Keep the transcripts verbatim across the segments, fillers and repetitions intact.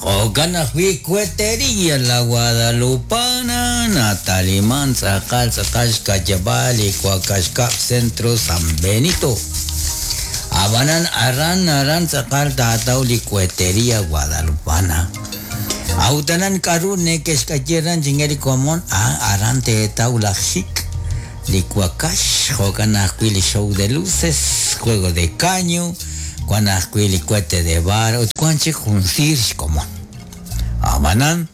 Jo'kan ajwi' Cuetería La Guadalupana nataliman tz'aqal tz'aqal xkayab'al li Wakaxkab' Centro San Benito. Abanan aran aran tz'aqal taataw li Cuetería Guadalupana. Autanan k'aru nekexk'ayeran chingeli komon ah, aran teetaw laj xik li wakax jo'kan ajwi' li show de luces, juego de caño, wan ajwi' li cohete de bar ut wan chik jun siir xkomon. Abanan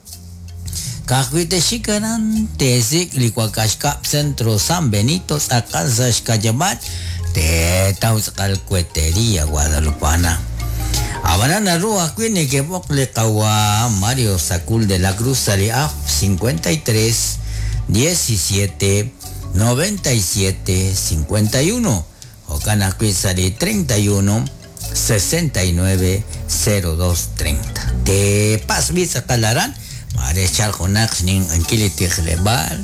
ka'ajwi' texik aran teesik' li Wakaxkab' Centro San Benito tz'aqal sa' xkayab'al teetaw tz'aqal Cuetería Guadalupana. Abanan naru ajwi' nekeb'oq li qawa Mario Sacul de la Cruz sa' li A F cincuenta y tres diecisiete noventa y siete cincuenta y uno jo'kan ajwi' sa' li treinta y uno sesenta y nueve cero dos treinta. Te pasbi tz'aqal aran mare chal junaq xninq'ankil li tijleb'aal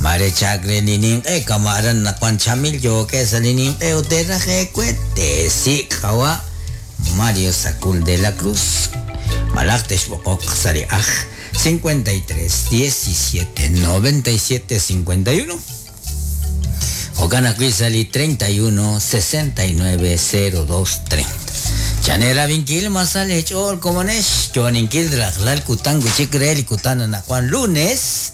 mare chakre li ninq'e kamaran nakuan chamil yoke sa' li ninq'e ut teraj ekuet te sik' qawa Mario Sacul de la Cruz malaj texb'oqoq sa' li aj cincuenta y tres diecisiete noventa y siete cincuenta y uno jo'kan ajwi' sa' li treinta y uno sesenta y nueve cero dos treinta. Chanera vinkil masal hechol komonex yoninkil rajlal kutan kuchik re li kutan anajuan lunes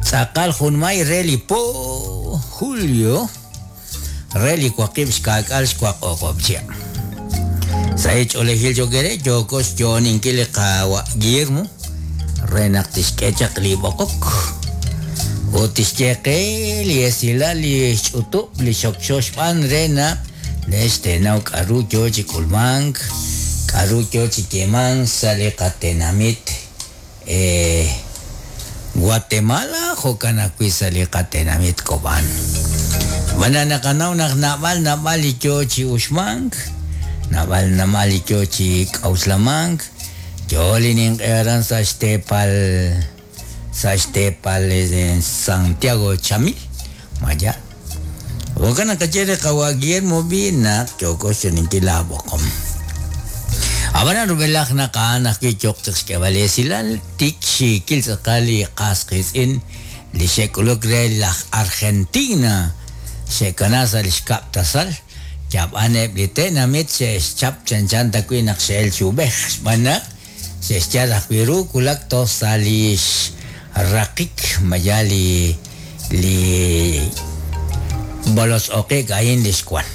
tz'aqal junmay re li po julio re li waqib' xka'k'al xwaq'oq'ob' chia. Sa' ch'oolejil yokere yokos yoninkil li qawa Guillermo re naq tixk'e chaq li b'oqok ut tixyeqe li esilal li xch'utub' li xokxo xb'aan re naq lextenaw k'aru yo chi k'ulmank k'aru yo chi yemank sa' li qatenamit, eh, Guatemala jo'kan ajwi' sa' li qatenamit Cobán. B'ana naqanaw naq nab'al nab'al li yo chi uxmank nab'al nab'al li yo chi k'awslamank yo li ninq'e aran sa' xteepal sa' xteepal en Santiago Chamil maya. Jo'kan naq qaye re qawa Guillermo bi naq yoko xoninkil laab'oqom. Ab'anan rub'elaj naq a'an ajwi' yoq chaq xk'eb'al esilal tik xiikil tz'aqal li qas qiitz'in li xe'k'uluk re laj Argentina xe'kana sa' li xkab' tasal yab'aneb' li tenamit xe'xchap chanchan ta wi' naq xe'el chi ub'ej xb'aan naq xe'xyal ajwi' ru kulak toj sa' li xraqik maya li li bolosoqik ayin li xkwan.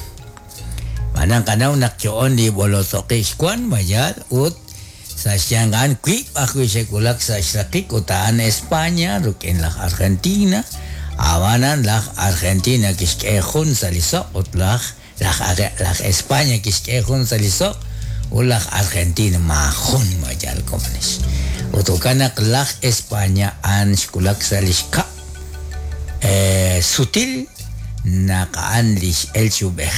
Manang kanaw naq yoon li bolosoqik xkwan mayal ut sa' xyangan wi' ajwi' xe'kulak sa' xraqik ut a'an España ruk'in laj Argentina abanan laj Argentina kixk'e jun sa' li soq ut laj laj laj España kixk'e jun sa' li soq ut laj Argentina majun mayal komonex. Ut jo'kan naq laj España an xkulak sa' li xkab', eh, sutil naq a'an li x'el chi ub'ej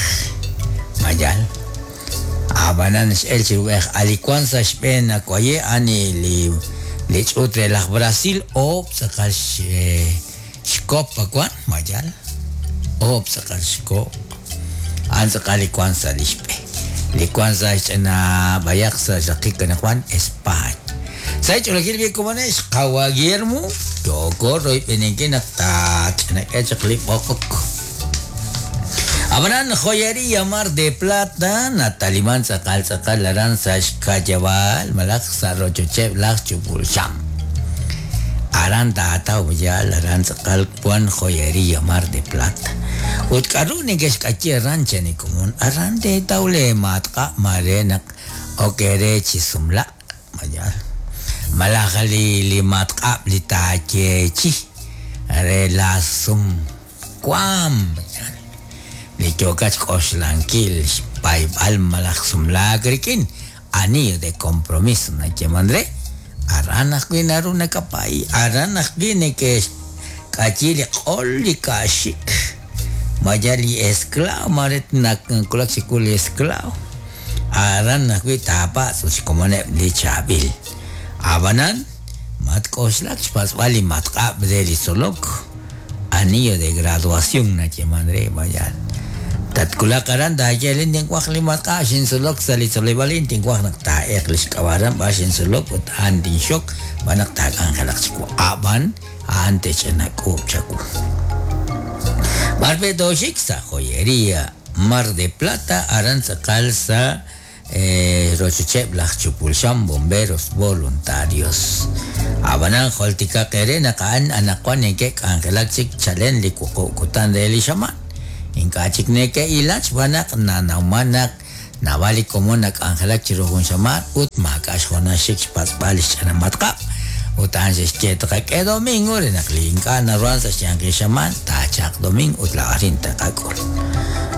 mayal. Abanan x'el chi ub'ej alikuan sa' xb'een nakuaye ani li li ch'uut re laj Brasil oob' tz'aqal x-, xkop akuan mayal oob' tz'aqal xkop a'an tz'aqal li kuan sa' li xb'e li kuan sa' xch'ina b'ayaq sa' xraqik anajuan España. Sa' ch'oolejil bi komonex qawa Guillermo yoko royb'eninki naq taach'inak'e chaq li b'oqok. Abanan joyería Mar de Plata nataliman tz'aqal tz'aqal aran sa' xkayab'al malaj sa' rochocheb' laj chupulxam. Aran taataw yal aran tz'aqal kuan joyería Mar de Plata. Ut k'aru nekexk'ayi aran chani komon aran teetaw le matqa' mare naq okere chi sumla' mayal. Malaj li, li matq'ab' li taayechi re la sum kuam mayal. Li yokach k'oxlankil xpayb'al malaj sumlaak rik'in anillo de compromiso nayeman re aran ajwi' naru nakapay aran ajwi' nekexk'ayi li q'ol li ka'xik maya li esclavo maret nakulak xikul li esclavo aran ajwi' taapatz' ut xkomoneb' li chaab'il. Abanan matk'oxlak xpatz'b'al li matq'ab' re li tzolok anillo de graduación nayeman re mayal. Tatkulaq aran taayelin tinwaj li matq'ab' xintzolok sa' li tzoleb'aalin tinwaj naq taa'eq li xk'ab'aran b'ar xintzolok ut a'an tinxok b'an naq taak'anjelaq chiwu a'b'an a'an tech'anak'uub' chawu. B'ar pe tooxik sa' joyería Mar de Plata aran tz'aqal sa' eh, rochocheb' laj Chupulxam Bomberos Voluntarios. Ab'anan joltikaq ere naq a'an anaqwan neke'k'anjelak chik chalen li wuqub' kutan re li xamaan. Ink'a' chik neke'ilach b'an naq nanawman naq naab'al li komon nak'anjelak chiru jun xamaan ut maak'a' xjoonal xik xpatz'b'al li xch'ana matq'ab'. Ut a'an xe'xye taqak'e domingo re naq li ink'a' naruhan sa' xyanqil xamaan taachaq domingo ut la'arin taqak'ul.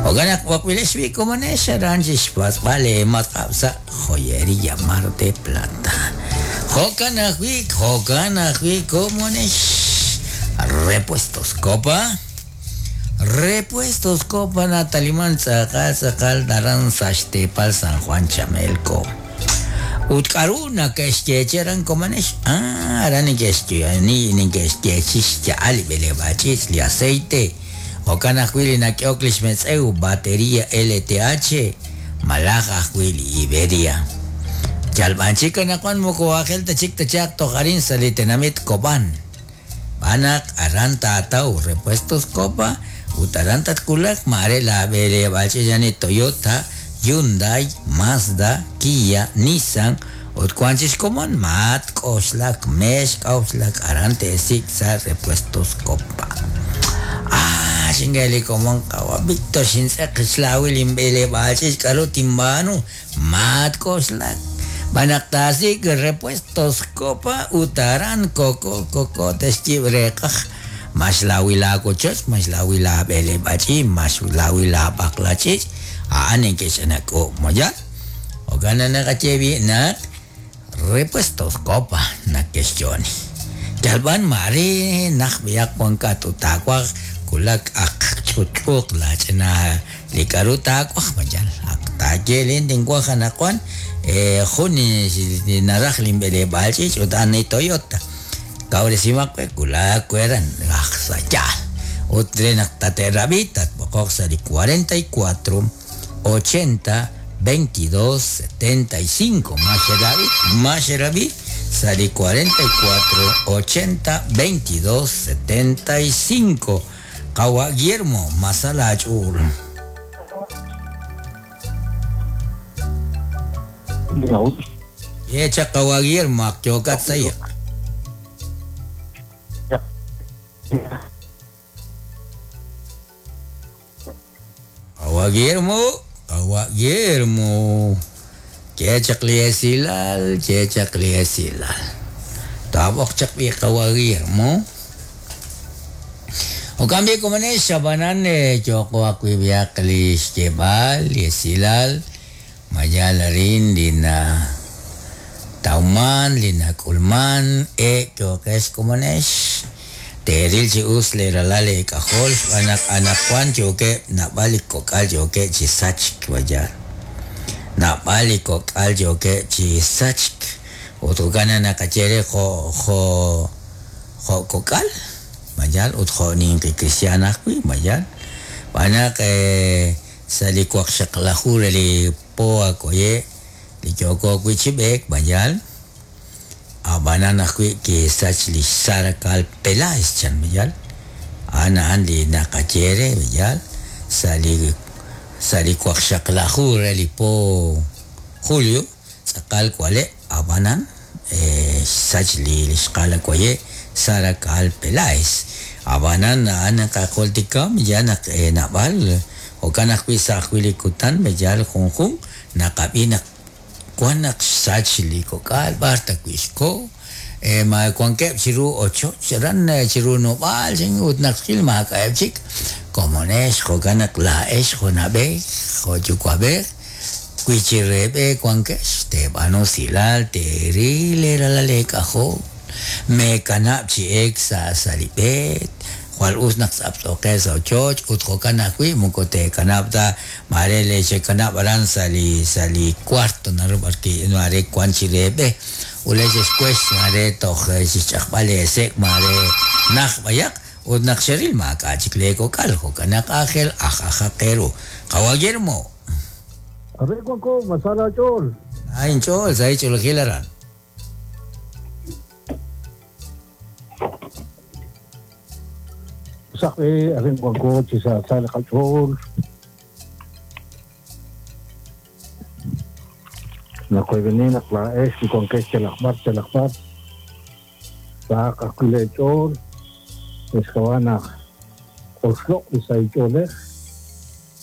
Jo'kan naq b'oqb'ilex b'i komonex aran chixpatz'b'al li matq'ab' sa' joyería Mar de Plata. Jo'kan ajwi' jo'kan ajwi' komonex Repuestos Copa. Repuestos Copa nataliman tz'aqal tz'aqal aran sa' xteepal San Juan Chamelco. Ut k'aru nake'xyeechi aran komonex ah aran neke'xye ni neke'xyeechi xya'al li b'eleb'aach'ich' li aceite. Jo'kan ajwi' li nak'ehok li xmetz'ew batería L T H malaj ajwi' li Iberia. Yalb'an chik anaqwan moko aajel ta chik tachaq toj arin sa' li tenamit Cobán. B'anaq aran taataw Repuestos Copa ut aran tatkulaq mare la b'eleb'aach'ich ani Toyota, Hyundai, Mazda, Kia, Nissan ut wan chi xkomon mat k'oxlak mex k'oxlak aran te'sik' sa' Repuestos Copa. Ah, xingeli komon qawa Víctor xintz'eq xlawil inb'eleb'aach'ich k'aru tinb'aanu mat k'oxlak b'anaq taasik' Repuestos Copa ut aran koko koko texyib' reqaj max lawil aawochoch max lawil aab'eleb'aach'ich max lawil aab'aqlach'ich a'an neke'xanak'uub' moyal. Jo'kan naqaye b'i naq Repuestos Copa nake'xyooni. Yalb'an mare naq b'iyaq wankat ut taawaj kulak aq ch'utch'uuq laach'ina li k'aru taawaj mayal aq taayelin tinwaj anaqwan eh, jun naraj linb'eleb'aach'ich ut a'an Toyota. Kawresimaq we kulak weran aj sa' yaal. Ut re naq tate'rab'i tatb'oqoq sa' li cuarenta y cuatro ochenta veintidós setenta y cinco. Maxerabi, Maxerabi, sali cuarenta y cuatro ochenta veintidós setenta y cinco. Kawa Guillermo, Masalachul. Yecha Kawa Guillermo, akyokat saya. Kawa Guillermo, Kawa Guillermo. Chechak liesilal, chechak liesilal. Tabok chak bi Kawa Guillermo. O cambio como ne shabanan choko akwibiak li xkebal liesilal mayala rin lina tauman lina kulman e chokes como nesh. Teril chi us le ralale kajol anak anak kwan choke nabalik kokal choke chi sachk wayar. Nabalik kokal choke chi sachk. Otogana nakachere jo jo jo kokal. Mayal ut jo ninki cristiana kui mayal. Banak eh sali kwak shaklahur li poa koye li choko kui chibek mayal. Abanana kui ki sach li sarakal Peláez chan mayal. Ana an li nakachere mayal. Sali sali kwak shaklahur li po Julio sakal kwale abanan eh sach li xkala koye Sarakal Peláez. Abanan ana kakoltikam ya nak eh, nabal o kanak wi sa kutan meyal junjun nakabinak kuanak sach li kokal barta kuisko eh ma kuankep chiru ocho charan chiru nobal sing ut nakil ma kaepchik como nes jokanak la es jonabe joyukuabe kuichirebe kuankesh te banosilal te rile la lekajo me kanap chi ex sa salibet cual usnak sapsoke sa choch ut jokanakui mukote kanapta marele che kanap aran sali sali cuarto naru barki no are cuanchirebe uleches cues mare toj chichakbale sek mare nak bayak Ut naq xeril maak'a' chik leekok'al jo'kan naq aajel aj ajaq eeru. Qawa' Guillermo. Arin wanko, masala ch'ool. Ay inch'ool, sa ch'oolejil aran. Saqi, arin wanko chi sa sa li qach'ool. Naqoyb'eni naq laa'ex li wankex chalaqb'ar chalaqb'ar. Saq ajwi' leech'ool. Exkawa naq oxloq' li sahil ch'oolej,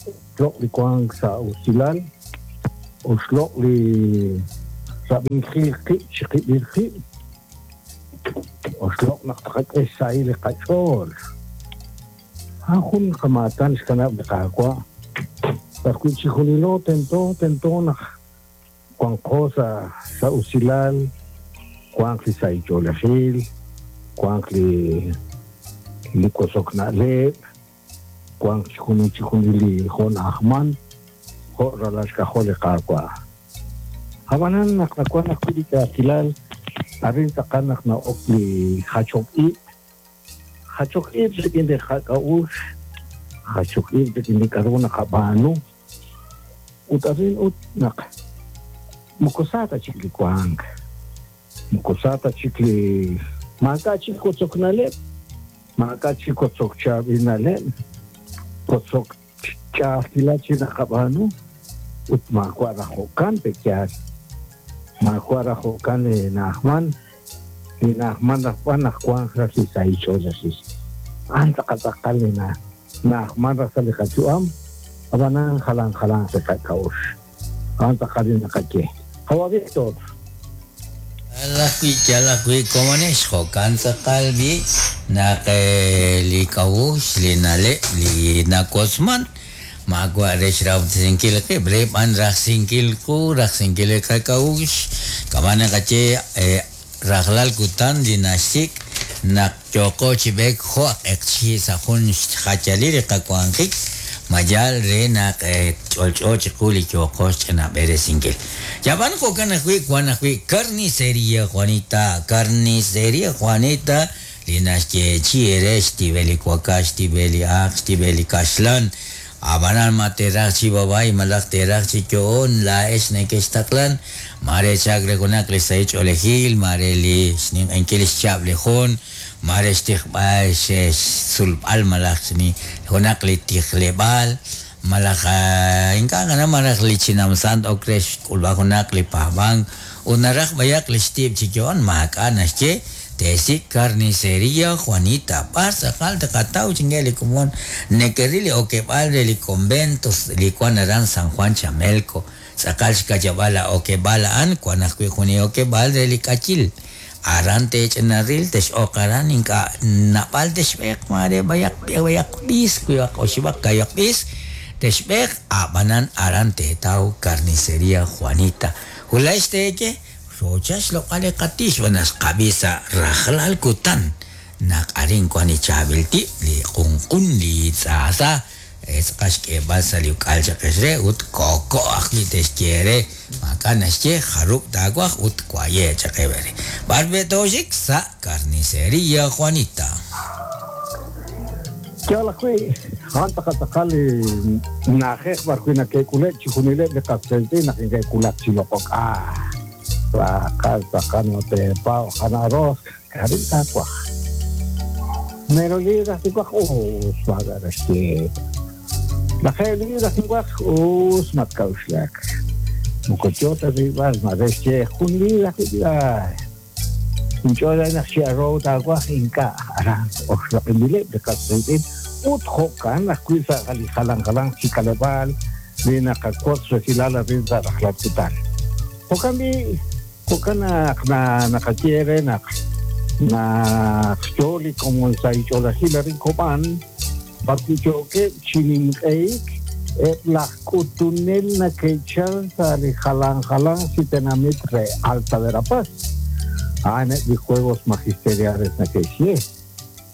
oxloq' li wank sa' usilal, oxloq' li rab'inkil qib' chiqib'il qib', oxloq' naq taqak'e xsahil li qach'ool. A'an jun qamaatan xkanab' li Qaawa'. B'arwi' chijunilo tento tento naq wanqo sa' sa' usilal, wanq li sahil ch'oolejil, wanq li li kosok na'leb', wanq chijunil chijunil li jo' na'ajman, jo' ralal xk'ajol li Qaawa'. Ab'anan naq nawan ajwi' li ch'a'ajkilal, arin tz'aqal naq na'ok li jachok ib', jachok ib' rik'in li qak'a'uxl, jachok ib' rik'in li k'a'ru naqab'aanu, ut arin ut naq moko sa ta chik li wank, moko sa ta chik li maak'a' chik kotzok na'leb', maak'a' chik kotzok chaab'il na'leb', kotzok ch'a'ajkilal chi naqab'aanu, ut maawa' raj jo'kan pe'yaal, maawa' raj jo'kan li na'ajman, li na'ajman raj b'an naq wanq raj li sahil ch'oolejil. A'an tz'aqal tz'aqal li na na'ajman raj sa' li qayu'am, ab'anan jalan jalan li qak'a'uxl. A'an tz'aqal li naqaye. Qawa' Víctor. Yal ajwi' yal ajwi' komonex jo'kan tz'aqal b'i naq li k'a'uxl li na'leb' li nawotzman maawa' re xrahob'tesinkil qib' re b'an rajsinkil qu rajsinkil li qak'a'uxl kama' naqaye rajlal kutan li naxsik' naq yooqo chi b'eek jo' q'eqchi' sa' jun xjayalil li qawanjik mayal re naq ch'olch'o chiqu li yooqo xch'inab'eresinkil. Yab'an jo'kan ajwi' wan ajwi' Carnicería Juanita, Carnicería Juanita li naxyeechi re xtib'el li wakax, xtib'el li aaq, xtib'el li kaxlan. Ab'anan ma teeraj chi b'ab'ay malaj teeraj chi yo'on laa'ex nekextaqlan mare chak re junaq li sahil ch'oolejil, mare li xninq'ehinkil xchab' li jun, mare xtijb'al xsulb'al malaj junaq li tijleb'aal, malaj ink'a' qana malaj li chinamsant ok re xk'ulb'al junaq li paab'ank ut naraj b'ayaq li xtib' chi yo'on maak'a' naxye teesik' Carnicería Juanita b'ar tz'aqal taqataw chinge li komon nekeril li okeb'aal re li convento li wan aran San Juan Chamelco tz'aqal xka'yab'aal la okeb'aal a'an wan ajwi' jun li okeb'aal re li k'ayil aran teech'inaril tex'oq aran ink'a' nab'al texb'eeq mare b'ayaq b'ayaq b'is wib'aq oxib'aq kayaq b'is texb'eeq ab'anan aran teetaw Carnicería Juanita wulaj teeye xocha xloq'al li qatix b'an xqab'i sa' rajlal kutan naq arin wan li chaab'il tib' li q'unq'un li tz'aasa tz'aqal xk'eeb'al sa' li uk'al chaqex re ut koko' ajwi' texye re maak'a' naxye jarub' taawaj ut waye chaqe b'ere b'ar b'e tooxik sa' Carnicería Juanita. Yal ajwi' a'an tz'aqal tz'aqal li na'ajej b'arwi' nake'k'uleb' chijunileb' li qasqeetz'in naq neke'k'ulak chi loq'ok. Ah, tz'aqal tz'aqal no teepaw jana arroz k'aru taawaj. Mero libras tinwaj us maak'a' naxye. Lajeeb' libras tinwaj us matk'a'uxlak. Moko yo ta rilb'al mare xye jun libra ajwi' ay. Inch'ool naq chi arroz taawaj ink'a' aran oxloq'inbileb' li qasqeetz'in ut jo'kan ajwi' sa' li jalan jalan chi k'aleb'aal li naqawotz resilal arin sa' rajlal kutan. Jo'kan b'i' jo'kan naq na naqaye re naq naq yo li komon sa' ch'oolejil arin Kob'an b'arwi' yookeb' chi ninq'ehik eb' laj k'utunel nake'chal sa' li jalan jalan chi tenamit re Alta Verapaz. A'an eb' li Juegos Magisteriales nake'xye.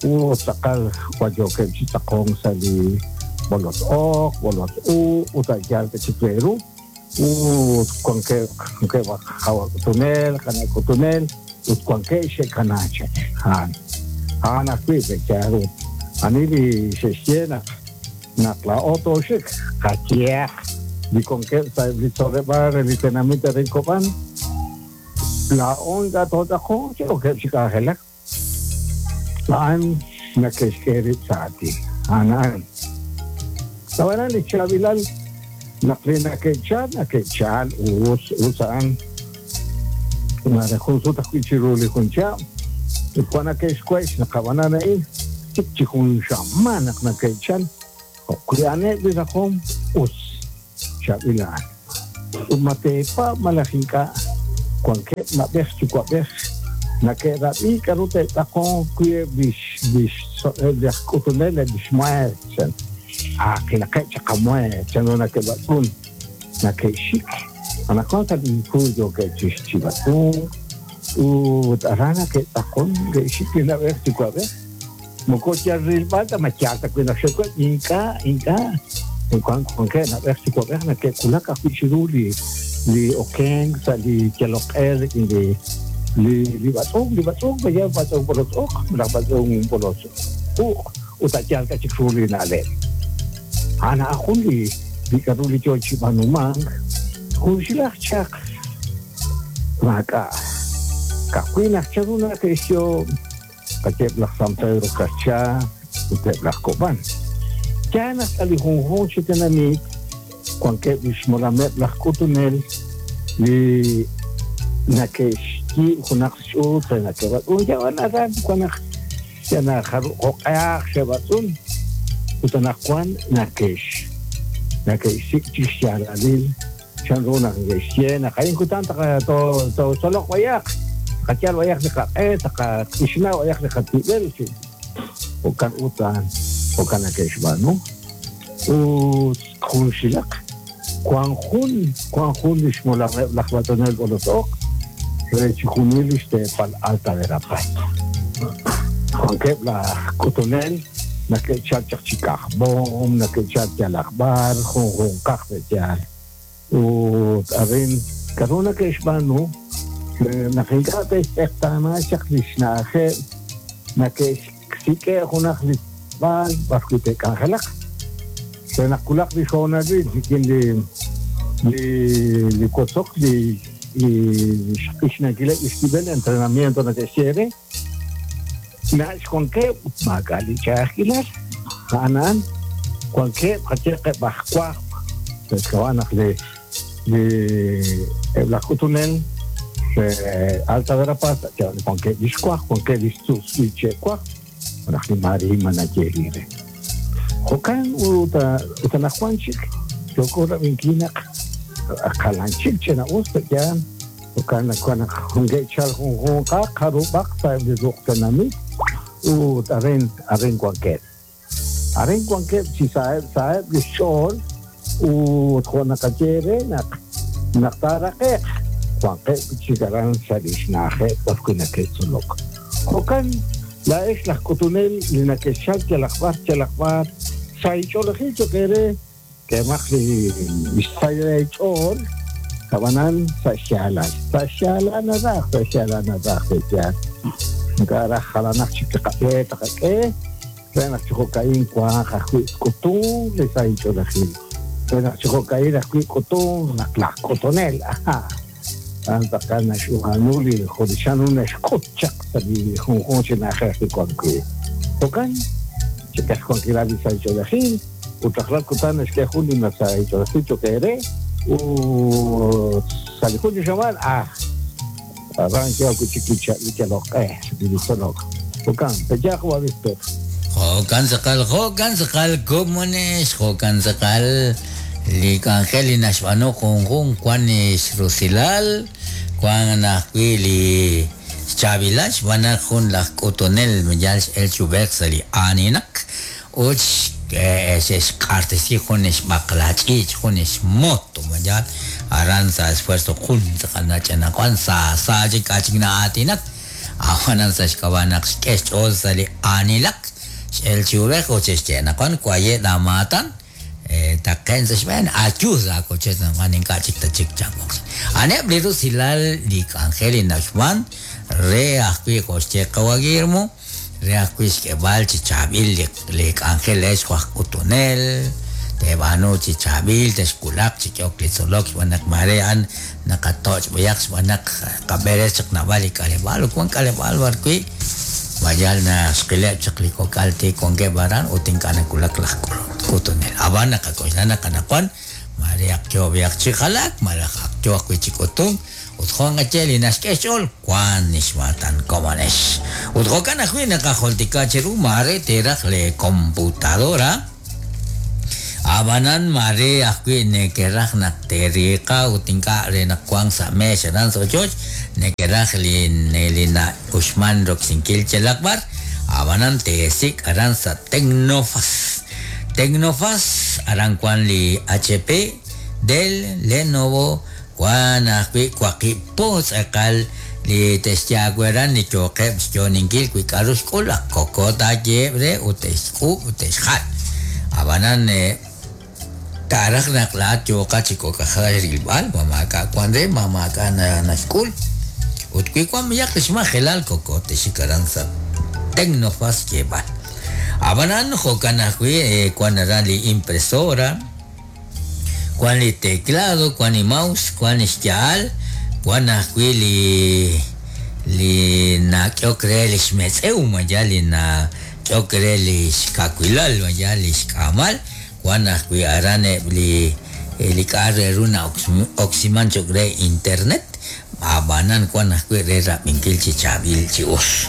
Ut tz'aqal wayookeb' chi tz'aqonk sa' li bolot oq, bolot u, ut a'yaal chik re ru. Ut wankeb' wankeb' qawa k'utunel, qana' k'utunel, ut wankeb' xe'kanaak chaq. A'an a'an ajwi' pe'yaal ut Ani li xe'xye naq naq laa'o tooxik qayehaq li wankeb' sa' eb' li tzoleb'aal re li tenamit re Cobán laa'o ink'a' tootz'aqonq chi okeb' chi k'anjelak a'an nake'xk'e rib' sa' aatin a'an a'an ab'anan li chaab'ilal naq li nake'chal nake'chal us us a'an mare jun sut ajwi' chiru li jun chihab' ut wan nake'xkue'x naq ab'anan a'in chik chi jun xamaan naq nake'chal jo'wi' a'aneb' li rajom us chaab'il a'an ut ma teepaab' malaj ink'a' wankeb' na'b'ej yuwa'b'ej nake'rab'i k'a'ru te'tz'aqonq wi' eb' lix lix eb' laj k'utunel eb' lix mueer chan aaqilaqeb' chaq qamueer chanru nake'b'atz'un nake'xik anaqwan sa' li kuy yookeb' chixchib'atz'unk ut aran nake'tz'aqon ke'xik li na'b'ej yuwa'b'ej moko yal rilb'al ta ma yaal ta wi' naq xe'kueb' ink'a' ink'a' wan wankeb' na'b'ej yuwa'b'ej nake'wulak ajwi' chiru li li okenk sa' li yaloq'e rik'in li li li b'atz'unk li b'atz'unk maya b'atz'unk b'olotz'uq malaj b'atz'unk b'olotz'uq ut a' yaal ta chik ru li na'leb' a'an a'an jun li li k'a'ru li yoo chi b'aanumank junxilaj chaq maak'a' ka'ajwi' naq chanru nake'xyo qayeb' laj San Pedro Carchá ut eb' laj Cobán yaal naq sa' li junjunq chi tenamit wankeb' li xmolameb' laj k'utunel li nake'xyiib' junaq xch'uut re nake'b'atz'un yab'an aran wan naq yana jo'q'ehaq xe'b'atz'un ut anaqwan nake'x nake'xsik' chik xyaalalil chanru naq neke'xye naq a'in kutan totzoloq b'ayaq qayal b'ayaq li qaq'e taqak'ixna b'ayaq li qatib'el jo'kan ut a'an jo'kan nake'xb'aanu ut junxilaq wan jun wan jun li xmolameb' laj b'atz'unel b'olotz'oq re chi junil li xteepal Alta Verapaz wankeb' laj k'utunel nake'chal chaq chi kajb'om nake'chal yalaq b'ar junjunqaq pe'yaal ut arin k'a'ru nake'xb'aanu naq ink'a' te'xtz'eqtaana chaq li xna'ajeb' nake'xsik'e' junaq li b'aal b'arwi' te'k'anjelaq re naq wulaq li xhoonalil rik'in li li li wotzok li li xq'ixnankileb' li xtib'el entrenamiento nake'xye re nach' wankeb' maak'a' li ch'a'ajkilal a'an a'an wankeb' qayeqeb' aj wajb' sa' xk'ab'a' naq li li eb' laj k'utunel re Alta Verapaz wankeb' li xwajb' wankeb' li xtz'utz'il che'wajb' malaj li marima nayeeli re jo'kan ut ut anaqwan chik yooko rab'inkil naq jalan chik ch'ina'us pe'yaal jo'kan naq wan naq junke'chal junjunqaq jarub'aq sa'eb' li ruq' tenamit ut arin arin wankeb' arin wankeb' chi sa'eb' sa'eb' li xch'ool ut jo' naqaye re naq naq taaraqe'q wankeb' chik aran sa' li xna'ajeb' b'arwi' nake'tzolok jo'kan laa'ex laj k'utunel li nake'xchal yalaq b'ar yalaq b'ar sa' ich'oolejil cho'q eere k'emaq li xsahil ch'ool ab'anan sa' xyaalal sa' xyaalal naraj sa' xyaalal naraj pe'yaal ink'a' raj jalanaq chik li qab'e taqak'e re naq chi jo'ka'in wanq ajwi' k'utun li sa' ich'oolejil re naq chi jo'ka'in ajwi' k'utun naq laj k'utunel aha a'an tz'aqal naxb'aanu li jo' li chanru naxk'ut chaq sa' li junjunq chi na'ajej li wan wi' jo'kan chik'e xwankilal li sa' ich'oolejil ut rajlal kutan naxk'e jun li sa' ich'oolejil cho'q eere ut sa' li jun chi xamaan ah aran yook wi' chik li yaloq'e li tzolok jo'kan pe'yaal wa Víctor Jo'kan tz'aqal jo'kan tz'aqal komonex jo'kan tz'aqal li k'anjel li naxb'aanu junjunq wan xrusilal wan ajwi' li xchaab'ilal xb'aan naq jun laj k'utunel yal x'el chub'ej sa' li aaninaq ut xe'xq'axtesi jun xb'aqla ch'iich' jun xmoto yal aran sa' esfuerzo jun tz'aqal nach'anaqwan sa sa chik k'a' chik na'aatinak awanan sa' xk'ab'a' naq xk'e xch'ool sa' li aanilak x'el chub'ej ut xe'xye naqwan waye' laamaatan taqen sa' xb'een ayu sa' akoche naqwan ink'a' chik ta chik chanwoq a'aneb' li rusilal li k'anjel li naxb'aan re ajwi' jo' xye qawa Guillermo Re ajwi' xk'eb'al chi chaab'il li k'anjel ex jo' aj k'utunel, teeb'aanu chi chaab'il, texwulaq chi k'ehok li tzolok xb'aan naq mare a'an naqatoch' b'ayaq xb'aan naq qab'eres chaq naab'al li k'aleb'aal ut wan k'aleb'aal b'arwi' mayal naxqileb' chaq li kok'al tik wankeb' aran ut ink'a' nawulak laj k'utunel. Ab'an naqak'oxla naq anaqwan mare ak yo b'ayaq chi jalaak malaj ak yo ajwi' chi k'utunk ut jo' naqaye li naxk'e xch'ool wan xmaatan komonex. Ut jo'kan ajwi' naqajultika cheru mare teeraj le computadora ab'anan mare ajwi' nekeraj naq teeriiqa ut ink'a' re naq wank sa' meex aran sa' ochoch nekeraj li li na'uxman roksinkil yalaq b'ar ab'anan teesik' aran sa' Tecnofas. Tecnofas aran wan li H P, Dell, Lenovo, wan ajwi' waqib' po tz'aqal li texyaawe aran li yooqeb' xyooninkil wi k'aru xk'ul ak koko taayeheb' re ut te'xk'uub' ut te'xjal. Ab'anan taaraj naq laat yooqa chi kok'ajal rilb'al ma maak'a' wan re ma maak'a' naxk'ul ut wi wan b'ayaq li xmajelal koko texik aran sa' Tecnofas xyeeb'al. Ab'anan jo'kan ajwi' wan aran li impresora, wan li teclado, wan li mouse, wan li xya'al, wan ajwi' li li nak'ehok re li xmetz'ew maya li nak'ehok re li xkawilal maya li xk'aamal, wan ajwi' aran eb' li li k'a' re ru na'oksiman cho'q re internet, ab'anan wan ajwi' re rab'inkil chi chaab'il chi us.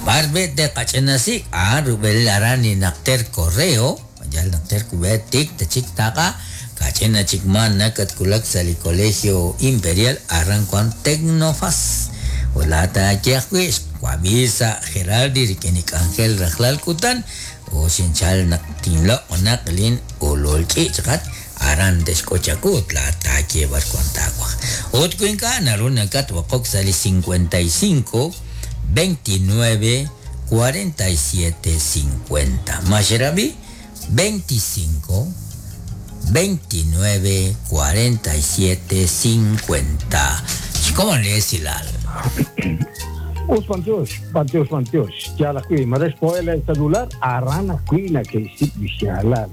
B'ar be' teqach'inasik' a'an rub'el aran li naqter correo, maya naqter kub'e tik tachik taqa kach'ina chik man nakatkulak sa' li Colegio Imperial aran wan Tecnofas. Ut laata ye ajwi' xwab'i sa' Geraldi rik'in li k'anjel rajlal kutan o xinchal naq tinloq' naq lin ulul ch'iich' qat aran texk'ochaku ut laata ye b'ar wan taawaj. Ut wi ink'a' naru nakatb'oqok sa' li cincuenta y cinco, veintinueve, cuarenta y siete, cincuenta. Maxerabi, veinticinco, veintinueve, cuarenta y siete, cincuenta. ¿Cómo le es Hilal? Us Pantios, Pantios, Pantios. Ya la cuí, me responde el celular, arana cuina que sí xalal.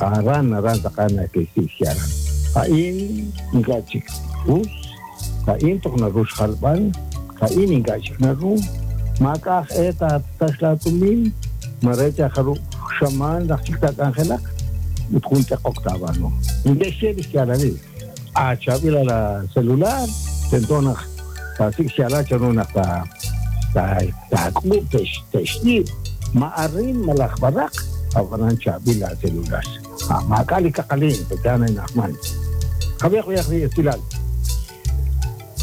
Aran, aran, sacana que sí xalal. Ain, ingachik, us, ain tokna rus jalban, ain ingachik naru, makaj eta taslatumin, marecha jaru xaman, lachiktak angelak, utjunte octavano. Indeshe xalal. A chavila la celular, tentona tasik xalal chanona ta ta ta tesh teshni ma arrin malaj barak abanan chavila celular. Ma kali kakalin petana inahman. Javier Javier Estilal.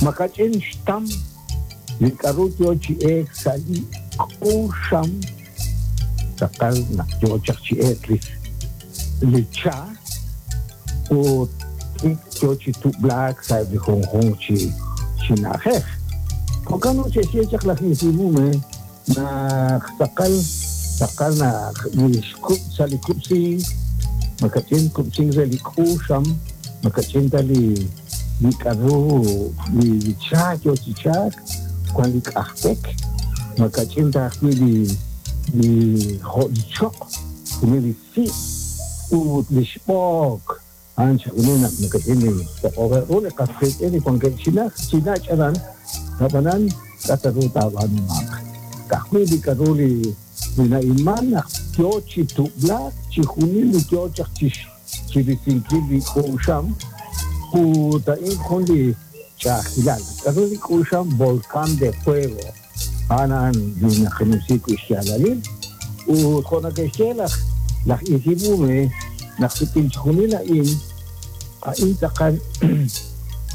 Makachin shtam likaru yo chi ek sali kusham sakal nak yo chak chi ek li li cha o yo chi tu black sa di hong hong chi chi najej. Kokano che si chak la hisibume na sakal sakal na li skup sali kupsi makachin kupsi li kusham makachin tali li karu li cha yo chi chak kwan li k'ajpek makachin ta ajwi' li li jo' li choq li li si' ut li xb'ook a'an chajunil naq makachin li toq'o'ru li qasqiitz'in li wankeb' chinaj chinach aran ab'anan k'ataru taab'aanumaq ka'ajwi' li k'aru li li na'ilman naq yo chi tub'laak chijunil li yo chaq chi chi risinkil li k'uxam ut a'in jun li ch'a'ajkilal k'aru li k'uxam volcán de fuego a'an li naqanumsi wi' xyaalalil ut jo' nake'xye laj laj Isibume naq suk'in chijunil a'in a'in tz'aqal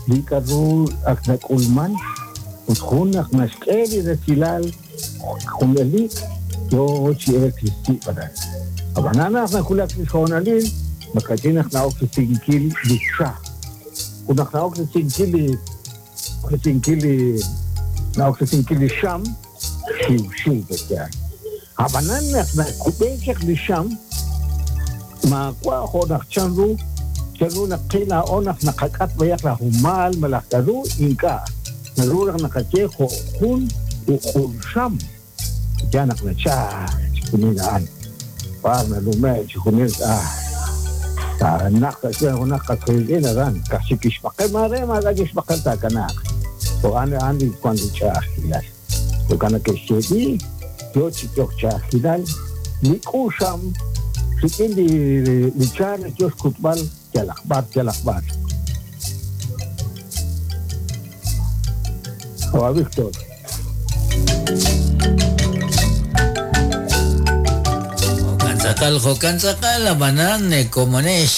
li k'aru ak nak'ulman ut jun naq naxk'e li resilal junalik yo chi ek li si' aran ab'anan naq najulak li xhoonalil makachin naq na'ok risinkil li cha ut naq na'ok risinkil li risinkil li na'ok risinkil li xam xiw xiw petya ab'anan naq nakub'e chaq li xam maawa' jo' naq chanru chanru naq qil laa'o naq naqak'at b'ayaq la jumal malaj k'aru ink'a' naru naq naqaye jo' jun uq'ul xam Ya naq nachal chixjunil a'an b'ar nalume' chixjunil ah naq sa' xb'een junaq qasqiitz'in aran ka'aj chik kixb'aqel maare maak'a' kixb'aqel taakanaaq jo'an a'an li wan li ch'a'ajkilal jo'kan nake'xyeeb'i yo chi yok ch'a'ajkilal li k'uxam rik'in li li cha yo xkutb'al yalaq b'ar yalaq b'ar. Oa Víctor. Jo'kan tz'aqal, jo'kan tz'aqal, ab'anan komonex.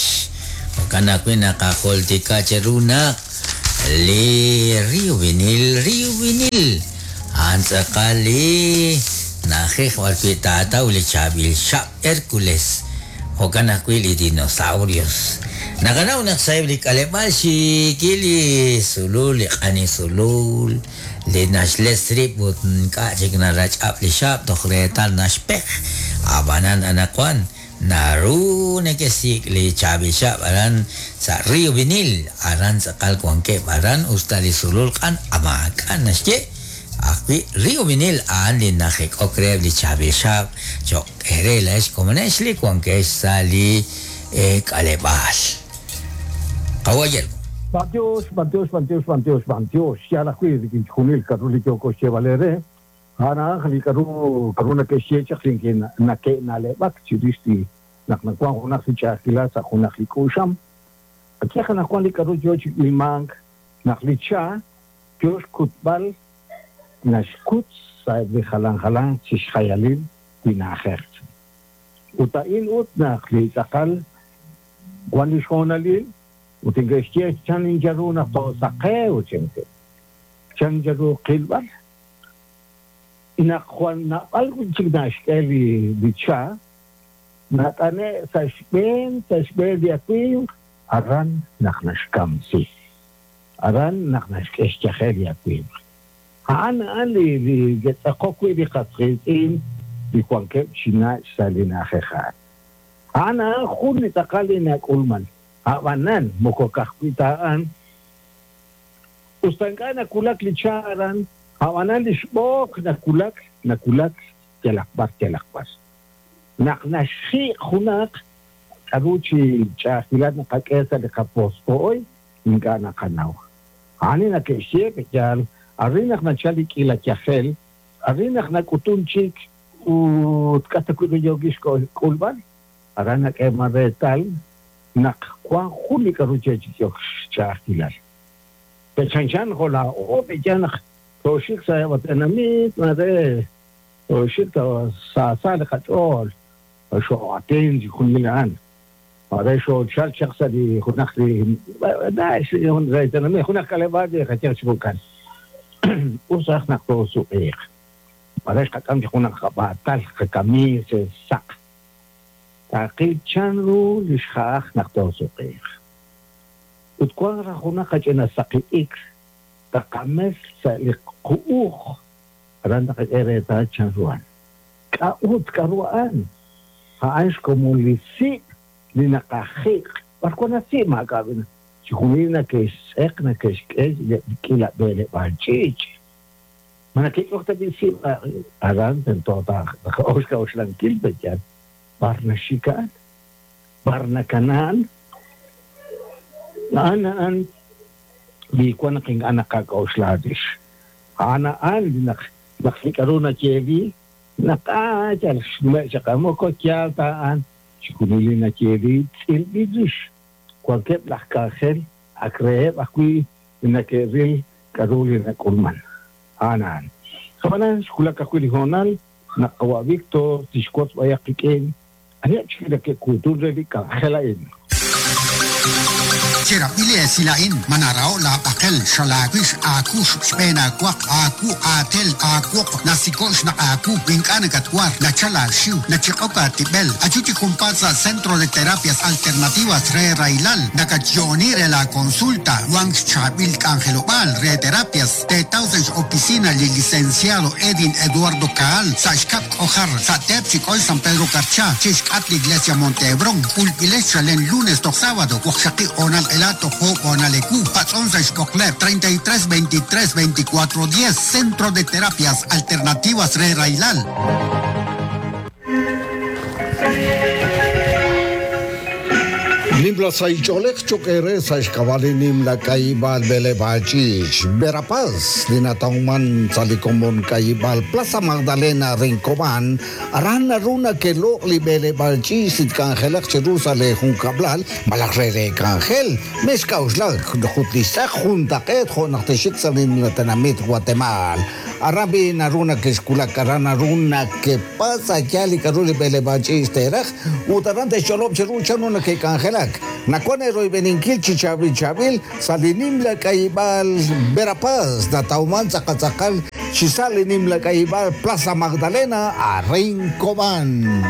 Jo'kan ajwi' naqajultika cheru naq li Río Vinil, Río Vinil, a'an tz'aqal li na'ajej b'arwi' taataw li chaab'il xab' Hércules. Jo'kan ajwi' li dinosaurios. Naqanaw naq sa'eb' li k'aleb'aal xiikil li sulul, li q'ani sulul, li naxles rib' ut ink'a' chik narach'ab' li xab' toj reetal naxpej. Ab'anan anaqwan naru nekesik' li chaab'il xab' aran sa' Río Vinil, aran tz'aqal wankeb' aran usta li sulul q'an maak'a' naxye. Ajwi' Río Vinil a'an li najek'ok reheb' li chaab'il xab' cho'q ere laex komonex li wankex sa' li k'aleb'aal. Kawayel. Bantiox, bantiox, bantiox, bantiox, bantiox. Yal ajwi' rik'in chixjunil k'aru li yooko xyeeb'al eere. A'an li k'aru k'aru nake'xye chaq li nake'na'leb'ak chirix li naq nawan junaq li ch'a'ajkilal sa' junaq li k'uxam. Qayehaq naq wan li k'aru yo chi ilmank naq li cha yo xkutb'al naxkut sa'eb' li jalan jalan chi xjayalil li na'ajej. Ut a'in ut naq li tz'aqal wan li xhoonalil ut inke'xye chan inyaru naq toosaqew chenke chan yaru qilb'al naq jwal nab'al chik naxk'e li li cha nat'ane' sa' xb'een sa' xb'een li awimq aran naq naxkamsi aran naq naxk'e xyajel li awimq a'an a'an li li ke'tz'aqok wi' li qasqiitz'in li wankeb' chi nach' sa' li na'ajej a'an a'an a'an jun li tz'aqal li nak'ulman ab'anan moko ka'ajwi' ta a'an usta ink'a' nakulak li cha aran ab'anan li xb'ook nakulak nakulak yalaq b'ar yalaq b'ar naq naxjiq' junaq k'aru chi ch'a'ajkilal naqak'e sa' li qapospo'oy ink'a' naqanaw a'an li nake'xye yal arin naq nachal li k'ila yajel arin naq nak'utun chik ut k'a ta wi' yookix k'ulb'al aran nak'eeman reetal naq wan jun li k'aru chechik xch'a'ajkilal pechanchan jo' laa'o pe'yaal naq tooxik sa' tenamit mare tooxik sa' sa' li qach'ool xoo'atin chixjunil a'an mare xoochal chaq sa' li junaq li re tenamit junaq k'aleb'aal li qayehaq chi jo'kan us raj naq toosuq'iiq mare xqak'am chi junaq qab'aatal qakamiis saq taqil chanru li xja'aj naq toosuq'iiq ut wan raj junaq qach'ina saqi t'ikr taqames sa' li qu'uj aran taqak'e reetal chanru a'an k'a'ut k'aru a'an a'an xkomon li si' li naqajiq' b'ar wan si' maak'a' chixjunil nake'xtz'eq nake'xk'e k'ila b'eleb'aal ch'iich' ma nake'k'ok ta b'i si' aran tento taqa'ox k'a'uxlankil pe'yaal b'ar naxik a'an b'ar nakana'an a'an a'an li wan naq ink'a' naqak'a'uxla rix a'an a'an li naq naq li k'aru nayeeli naq a yal xnume' chaq moko yaal ta a'an chixjunil li nayeeli tz'ilb'il rix wankeb' laj k'anjel ak reheb' ajwi' li nake'ril k'aru li nak'ulman a'an a'an ab'anan xwulak ajwi' li hoonal naq qawa' Víctor tixwotz b'ayaq qik'in aniheb' chik nake'kuutun re li k'anjel a'in. Cherab'ili esilain manarao la b'aqel xalaawix aakux xb'een aawaq aawu aatel aawoq nasikox naq aawu ink'a' nakatwar nachal aaxiw nachiq'ok aatib'el achu chi junpaat sa' Centro de Terapias Alternativas re Railal nakatyo'oni re la consulta wank xchaab'il k'anjelob'aal re terapias teetaw sa' x-oficina li licenciado Edin Eduardo Caal sa' xkab' k'ojar sa' teep chik'oy San Pedro Carchá chixk'at li Iglesia Monte Hebrón k'ulb'ilex chalen lunes toj sábado waqxaqi onal ela tojo bonaleku patzón sa xkoklep treinta y tres veintitrés veinticuatro diez Centro de Terapias Alternativas Re Railal. Nimla saicholek chokere saixkabali nimla kaibal belebachich Verapaz linatauman salikomon kaibal Plaza Magdalena Rincoban aran naruna que lo li belebachich sitkangelak cherusale junkablal malakrere kangel meskauslak jutlisak juntaket jonateshik salimlatanamit Guatemala Arabi naruna que esculak aran naruna que pasa yali karuli belebachich teraj utarante cholop cheruchanuna que kangelak Nakone roy beninkil chichabil chabil salinimla kaibal Verapaz natauman zacatzacal chisalinimla kaibal Plaza Magdalena a Rincobán.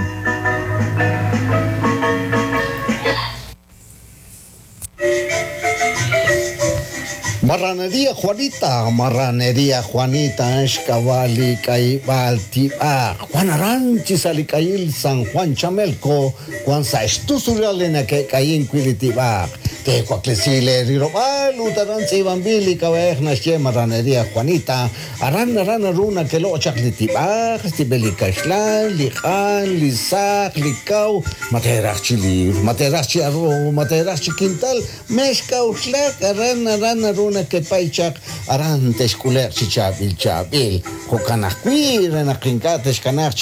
Marranería Juanita, Marranería Juanita, Escabali, Caibal, Tiba, Juan Aranchi, Salicail, San Juan Chamelco, Juan Saestusurialena, que Caín, Quilitiba, Tecuaclesile, Rirobal, Utaranzi, Bambili, Cabejna, Marranería Juanita, Aran, Aran, Aruna, que lo Chaclitiba, Stibelicaxlan, Lijan, Lizac, Licau, Materachi, Materachi, Arro, Materachi, Quintal, Mezca, Uxlac, Aran, Aran, Aruna, que paichak arantes kuler chichabil chabil jokanakui renakinkates kanach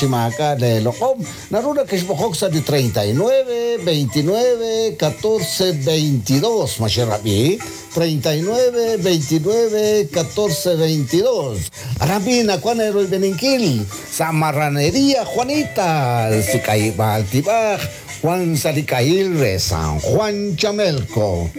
de loqom naruna que es de treinta y nueve veintinueve catorce veintidós macherabi treinta y nueve veintinueve catorce veintidós Arabina Juanero y Beninquil Samarranería Juanita Sicaibal Tibaj Juan Salicail San Juan Chamelco.